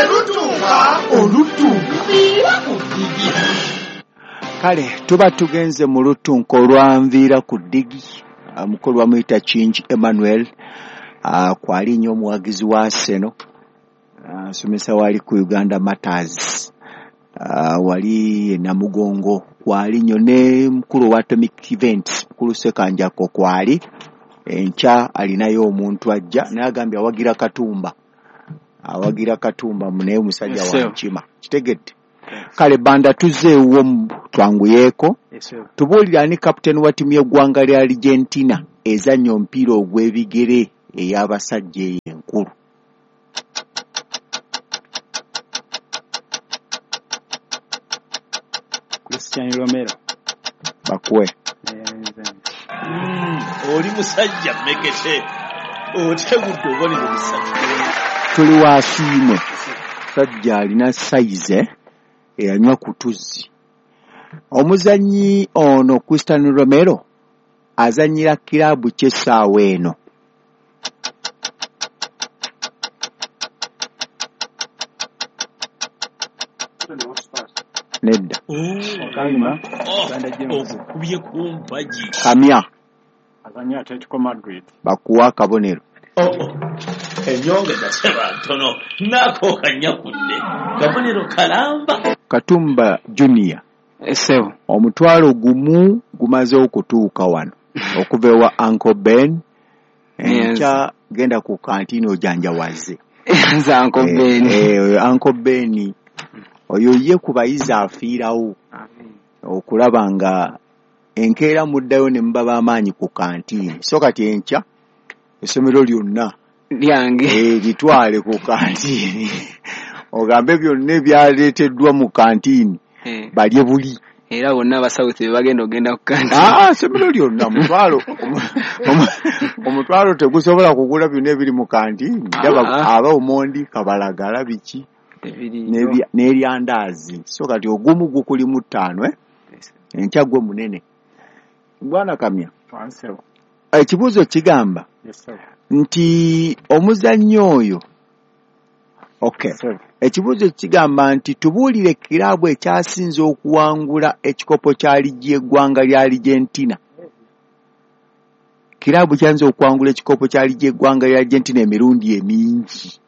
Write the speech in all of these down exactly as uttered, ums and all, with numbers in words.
Bwe lutuuka olutunviira ku ddigi. Kale tuba tugenze mu lutunka olwanviira ku ddigi. Omukulu bamuyita Kingi Emmanuel, uh, kwali nnyo omuwagizi wa Arsenal, nsomesa uh, wali ku Uganda Matters, uh, wali e Namugongo kwali nnyo, ne mukulu wa Atomic Events mukulu Ssekanjako kwali. Enkya alinayo omuntu ajja naye agambye awagira Katumba, awagira Katumba naye omusajja wa Nkima. Kitegedde? Kale Banda tuzzeewo twanguyeeko. Tubuulire ani kapiteeni wa ttiimu y'eggwanga lya Argentina ezannya omupiira ogw'ebigere ey'abasajja eyo enkulu. Christian Romero. Bakuwe. Mm, oli musajja mmekete otegudde obubonero busatu. Tuli wasiimwe. Sajja alina sayize eyanywa ku tuzzi. Omuzannyi ono Christian Romero azannyira kiraabu ky'essaawa eno. Nedda. Ogukubye ku mpagi. Kamya. Azannya Atletico Madrid. Bakuwa akabonero. Oh, oh. Ennyonge naseba ntono naako kanyakudde kabonero kalamba. Katumba Junior. Esebo. Omutwalo gumu gumaze okutuuka wano okuva ewa Uncle Ben. Enkya genda ku kantini ojanjawaze. Nze Uncle Ben. Eh, Uncle Ben oyo ye ku bayizi afiirawo okulaba nga enkeera muddayo ne muba b'amaanyi ku kantini. So kati enkya essomero lyonna lyange eh, litwale ku kantini ogambe byonna ebyaleeteddwa mu kantini eh, balye buli. Era bonna aba South be bagenda ogenda ku kantini. Ah, essomero lyonna omutwalo omutwalo tegusobola kugula byonna ebiri mu kantini. Aba omondi kabalagala biki n'eryandaazi. So kati ogumu gukuli mu ttaano eh? Enkya gwe munene. Bwana Kamya, ekibuuzo kigamba nti omuzannyi oyo okay. Ekibuuzo kigamba nti tubuulire kiraabu ekyasinze okuwangula ekikopo kya liigi y'eggwanga lya Argentina. Kiraabu kyanze okuwangula ekikopo kya liigi y'eggwanga lya Argentina emirundi emingi.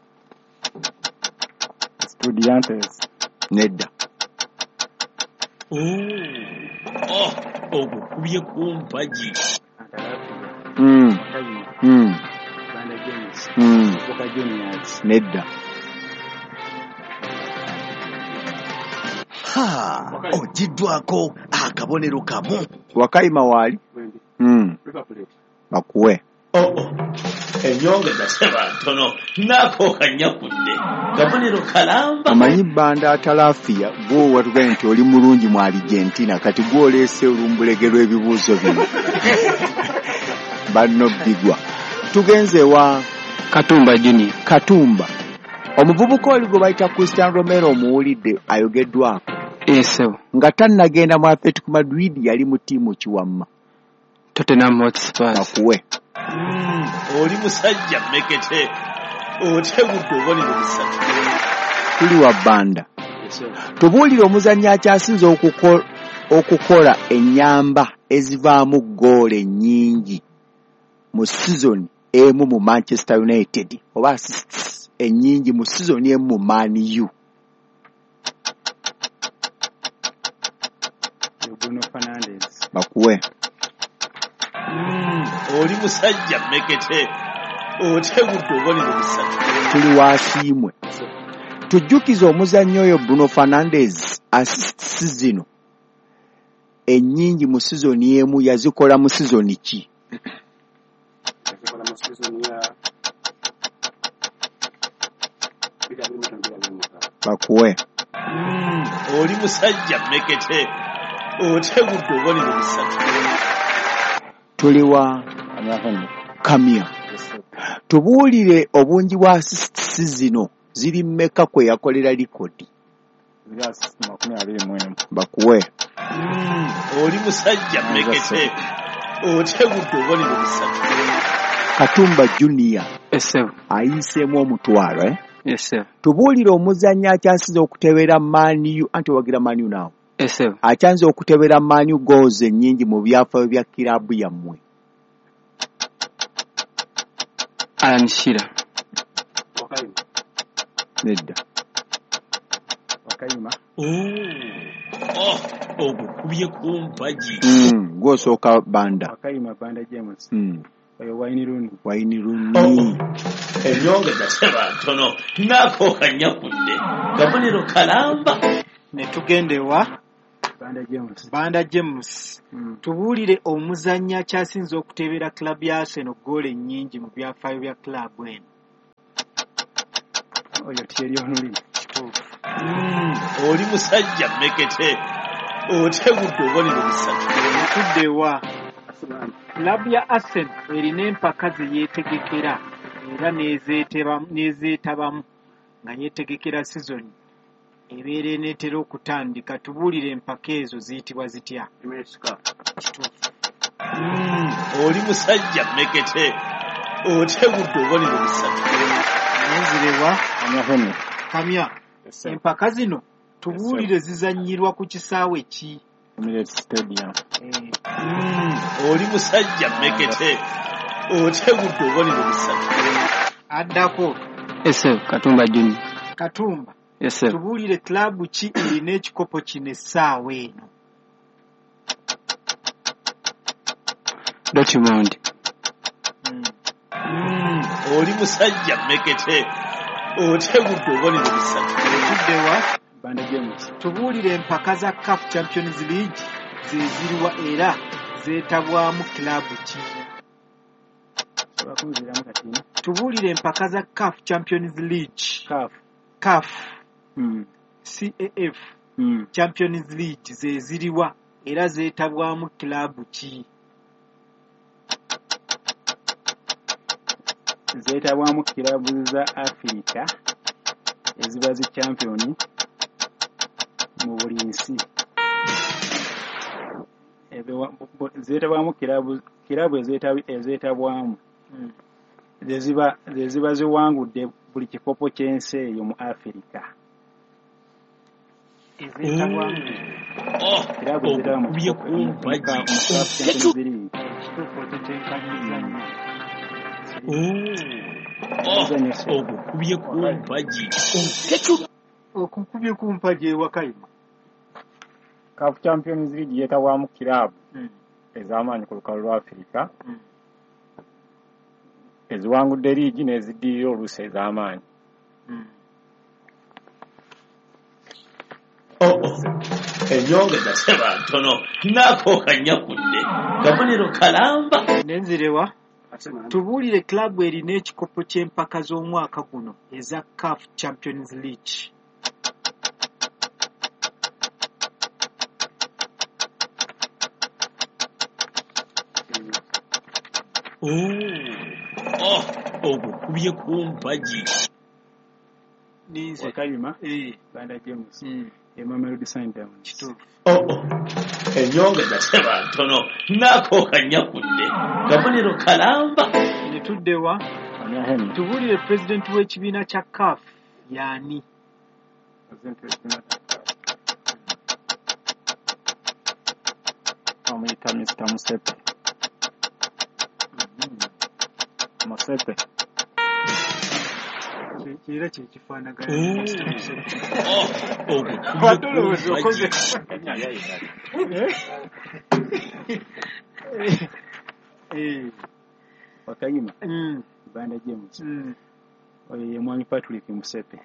Estudiantes. Nedda. Oh, ogukubye ku mpagi. Mm. Mm. Mm. Nedda. Ha, ogiddwako akabonero kamu. Wakayima waali? Mm. Bakuwe. Oh, oh. Ennyonge naseba ntono naako kanyakudde kabonero kalamba. Omanyi Banda atalaafiya gwe watugambye nti oli mulungi mu Argentina, kati gwe oleese olumbulege lw'ebibuuzo bino. Banno bbigwa. Tugenze wa Katumba Junior. Katumba. Omuvubuka oli gwe bayita Christian Romero omuwulidde ayogeddwako. Esebo. Nga tannagenda mu Atletico Madrid yali mu ttiimu ki wamma? Tottenham Hotspur. Bakuwe. Mm, oli musajja mmekete otegudde obubonero busatu. Tuli wa Banda. Tubuulire omuzannyi akyasinze okuko, okukola ennyamba ezivaamu ggoolo ennyingi mu sizoni emu mu Manchester United oba assists ennyingi mu sizoni emu mu Man U. Bruno Fernandes. Bakuwe. Mm, oli musajja mmekete otegudde obubonero busatu. Tuli wasiimwe. Tujjukize omuzannyi oyo Bruno Fernandes assists zino ennyingi mu sizoni emu yazikola mu sizoni ki? Yazikola mu sizoni ya Bakuwe. Mm, oli musajja mmekete otegudde obubonero busatu. Tuli wa Kamya. Tubuulire obungi bwa assists zino ziri mmeka kwe yakolera likodi. Bakuwe. Mm, oli musajja mmekete otegudde obubonero busatu. Katumba Junior Esebo. Ayiseemu omutwalo eh? Yes, ssebo. Tubuulire omuzannyi akyasinze okutebera Man U, anti owagira Man U naawe. Yes, ssebo. Akyanze okutebera Man U goals ennyingi mu byafaayo bya kiraabu yammwe. Alan Shearer. Wakayima. Nedda. Wakayima. Oh, ogukubye ku mpagi. Mm, gw'osooka Banda. Wakayima Banda James. Mm. Oyo Wayne Rooney. Wayne Rooney. Ennyongeza teba ntono naako kanyakudde kabonero kalamba. Ne tugenda ewa Banda James. Banda James. Mm. Tubuulire omuzannyi akyasinze okuteebera club ya Arsenal ggoolo ennyingi mu byafaayo bya club eno. Oyo Thierry Henry. Kituufu. Mm, oli musajja mmekete otegudde obubonero busatu. Tudde ewa Arsenal. Club ya Arsenal erina empaka ze yeetegekera era n'ezeeteba- n'ezeetabamu nga yeetegekera sizoni ebeera eneetera okutandika. Tubuulire empaka ezo ziyitibwa zitya? Emirates Cup. Kituufu. Mm, oli musajja mmekete otegudde obubonero busatu. Nenzire wa Kamya Henry. Kamya. Yes, sir. Empaka zino tubuulire zizannyirwa ku kisaawe ki? Emirates Stadium. Eh, Mm, oli musajja mmekete otegudde obubonero busatu. Addako Yes, ssebo. Katumba Junior. Katumba. Yes, ssebo. Tubuulire club ki erina ekikopo kino essaawa eno? Dortmund. Mm. Mm, oli musajja mmekete otegudde obubonero busatu. Tudde wa Banda James. Tubuulire empaka za CAF Champions League ze ziriwa era zeetabwamu club ki? Sobola kunziramu kati. Tubuulire empaka za CAF Champions League. CAF. CAF Mm. C A F Mm. Champions League ze ziriwa era zeetabwamu club ki? Zeetabwamu kiraabu za Afirika eziba zi champion mu buli nsi. Zeetabwamu kiraabu kiraabu ezeetabwamu Mm. ze ziba ze ziba ziwangudde buli kikopo ky'ensi eyo mu Afirika. Ezeetabwamu Oh, Kiraabu ezeetaba mu ogukubye kikopo ku mu mpagi. CAF Champions League. Kituufu otetenkanyizza nnyo. Oh, ogukubye ku mpagi. Okukubye ku mpagi ewa Kayima. CAF Champions League yeetabwamu kiraabu Mm. ez'amaanyi ku lukalu lwa Afirika Mm. eziwangudde liigi n'eziddirira oluusi ez'amaanyi. Mm. Oh, oh. Ennyongeza teba ntono naako kanyakudde kabonero kalamba. Nenzire wa Tubuulire club erina ekikopo ky'empaka z'omwaka guno eza CAF Champions League. Oh, ogukubye ku mpagi. Ninze. Wakayima. Eh. Banda James. Mm. Mamelodi Sundowns. Kituufu. Oh, oh. Ennyongeza teba ntono naako kanyakudde kabonero kalamba. Ne tudde wa Kamya Henry. Tubuulire pulezidenti w'ekibiina kya CAF y'ani? President w'ekibiina kya CAF. Bamuyita Mister Musepe. Musepe. Era kye kifaanagana ne Mister Musepe. Oh, ogukubye Wadde ku olowooza okoze. mpagi. Eh. Wakayima. Mm. Banda James. Mm. Oyo ye mwami Patrick Musepe.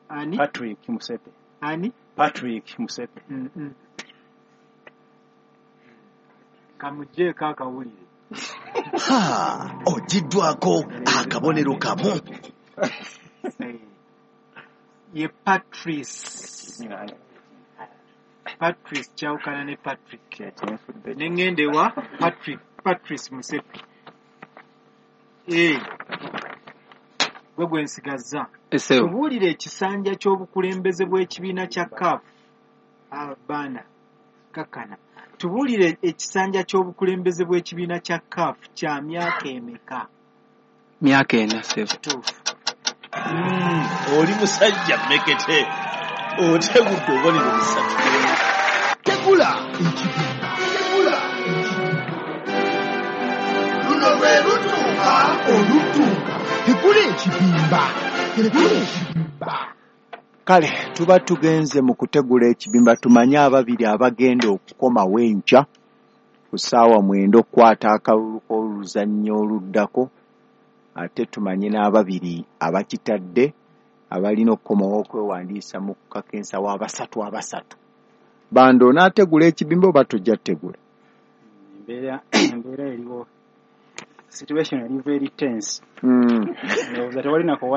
Ani? Patrick Musepe. Ani? Patrick Musepe. Mm -mm. Kamuggyeko akawulire. Ha, ogiddwako akabonero kamu. Eh. Ye Patrice. Patrice kyawukana ne Patrick. Kyenfudde. Ne ŋŋenda ewa Patrick, Patrice Musepe. Eh. Gwe gwe nsigazza. Yes, ssebo. Tubuulire ekisanja ky'obukulembeze bw'ekibiina kya CAF. Abaana kakkana. Tubuulire ekisanja ky'obukulembeze bw'ekibiina kya CAF kya myaka emeka? Myaka ena, ssebo. Kituufu. Mm, oli musajja mmekete otegudde obubonero busatu. Tegula ekibimba, tegula ekibimba. Luno lwe lutuuka olutuuka. Tegula ekibimba, tegula ekibimba. Kale tuba tugenze mu kutegula ekibimba, tumanye ababiri abagenda okukomawo enkya ku ssaawa mwenda okukwata akalulu k'oluzannya oluddako, ate tumanye n'ababiri abakitadde abalina okukomawo okwewandiisa mu kakensa w'abasatu abasatu. Bando, onaategula ekibimba oba tojja kutegula? Embeera embeera eriwo, situation eri very tense. Mm. Ndowooza tewali nakowa.